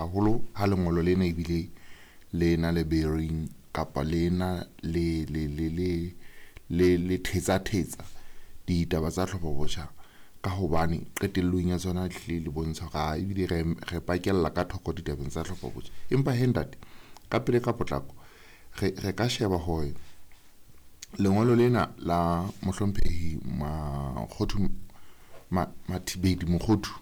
Haholo ha lengolo lena ebile le na le bearing kapa le na le le le le le le thetsa thetsa ditaba tsa tlhopho botjha, ka hobane qetellong ya tsona hlile le bontsha hore ebile re pakella ka thoko ditabeng tsa tlhopho botjha. Empa he ntate, ka pele ka potlako re ka sheba hore lengolo lena la mohlomphehi Makgothu Mathibeli Mokhothu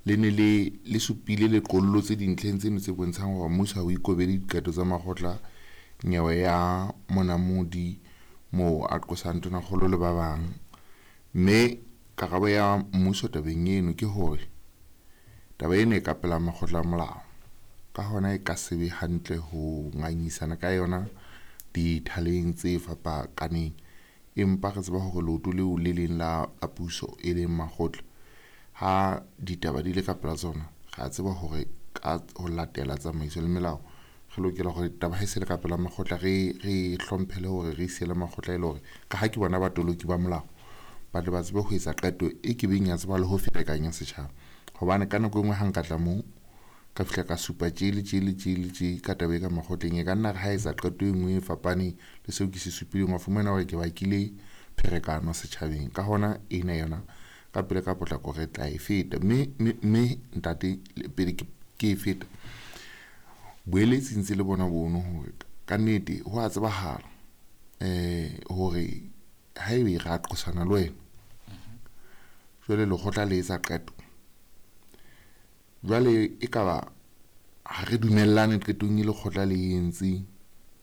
le ne le supile le qollotse dintlheng tseno tse bontshang hore mmuso ha o ikobele diqeto tsa makgotla nyewe ya Monamodi moo a qosang tonakgolo le ba bang. Mme karabo ya mmuso tabeng eno ke hore taba ena e ka pela makgotla a molao, ka hona e ka se be hantle ho ngangisana ka yona dithaleng tse fapakaneng. Empa re tseba hore leoto leo le leng la puso e leng makgotla, ha ditaba di le ka pela tsona, re a tseba hore ka ho latela tsamaiso le melao re lokela hore taba ha e se le ka pela makgotla re hlomphele hore re siele makgotla, e le hore ka ha ke bona batoloki ba molao ba tle ba tsebe ho etsa qeto e ke beng ya tseba le ho ferekanya setjhaba. Hobane ka nako e nngwe ha nka tla moo ka fihla ka supa tje le tje le tje le tje ka taba e ka makgotleng, e ka nna re ha etsa qeto e nngwe e fapaneng le seo ke se supileng, wa fumana hore ke bakile pherekano setjhabeng. Ka hona ena yona ka pele ka potlako re tla e feta, mme ntate pele ke e feta, boeletsi ntse le bona bono hore kannete ho a tsebahala hore haebe ra qosana le wena, jwale lekgotla le etsa qeto, jwale ekaba ha re dumellane qetong e lekgotla le entseng,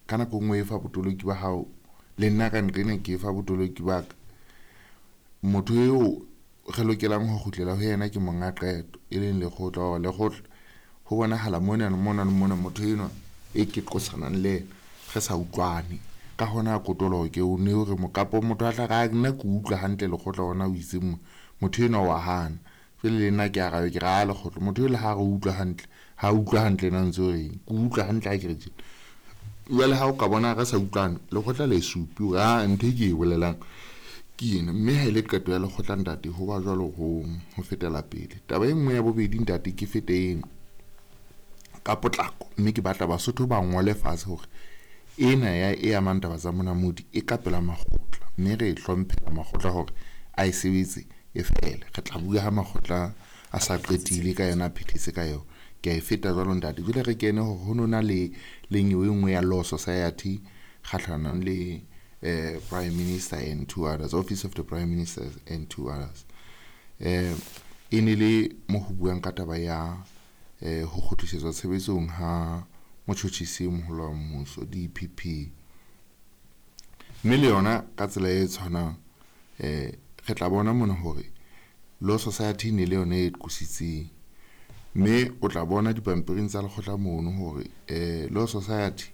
ka nako e nngwe e fa botoloki ba hao le nna ka nqena ke fa botoloki ba ka, motho eo re lokelang ho kgutlela ho yena ke monga qeto e leng lekgotla, hore lekgotla ho bonahala mona le mona le mona motho enwa e ke qosanang le yena re sa utlwane. Ka hona kotoloke ke o ne hore mokapo motho a tla re nna ke utlwa hantle lekgotla hona o itse motho enwa wa hana, jwale le nna ke arabe ke re a lekgotla motho le ha re utlwa hantle ha utlwa hantle na ntse o reng, ke utlwa hantle ha ke re tjena. Jwale ha o ka bona re sa utlwane, lekgotla le supi hore a ntho e ke e bolelang ke ena, mme ha ile qeto ya lekgotla ntate ho ba jwalo ho fetela pele. Taba e nngwe ya bobedi ntate ke fete eno ka potlako, mme ke batla Basotho ba ngole fatshe hore ena ya e amang taba tsa Monamodi e ka pela makgotla, mme re e hlomphela makgotla hore a e sebetse e fele. Re tla bua ha makgotla a sa qetile ka yona, a phethetse ka yona. Ke a e feta jwalo ntate. Jwale re kene hore ho nona le nyewe e nngwe ya Law Society kgahlanong le Prime Minister and two others, Office of the Prime Minister and two others. E ne le mo ho buang ka taba ya ho kgutlisetswa tshebetsong ha motjhotjhisi e moholo wa mmuso DPP. Mme le yona ka tsela e tshwanang re tla bona mona hore Law Society ne le yona e qositseng, mme o tla bona dipampiring tsa lekgotla mono hore Law Society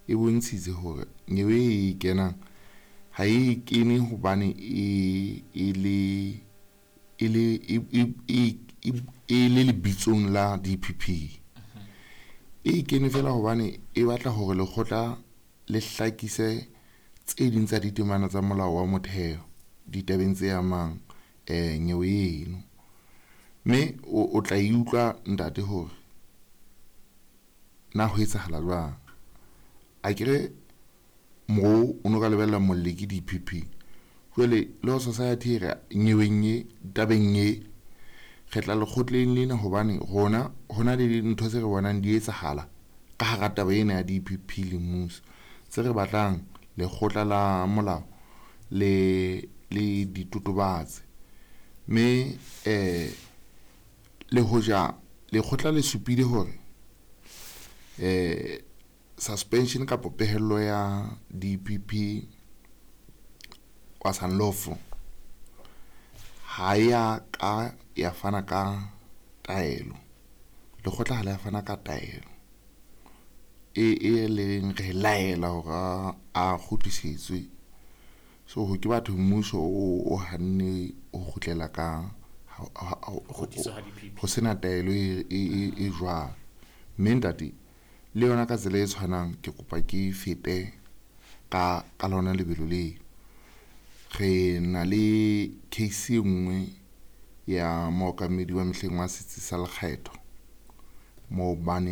e bontshitse hore nyewe e kenang ha e kene hobane e le e le e le lebitsong la DPP. E kene fela hobane e batla hore lekgotla le hlakise tse ding tsa ditemana tsa molao wa motheo ditabeng tse amang nyewe eno. Mme o tla e utlwa ntate hore na ho etsahala jwang. Akere mo o no ka lebella molli ke DPP, jwale Law Society e re nyeweng e tabeng e re tla lekgotleng lena hobane rona hona le dintho tse re bonang di etsahala ka hara taba ena ya DPP le mmuso, tse re batlang lekgotla la molao le di totobatse. Mme le hoja lekgotla le supile hore suspension kapa pehello ya DPP was unlawful, ha ya ka ya fana ka taelo, lekgotla ha le ya fana ka taelo e leng re laela hore a kgutlisetswe. So ho ke batho mmuso o hanne ho kgutlela ka ho sena taelo e jwalo. Mme ntate le yona ka tsela e tshwanang ke kopa ke fete ka lona lebelo leo. Re na le case e nngwe ya mookamedi wa mehleng wa setsi sa lekgetho moo ba neng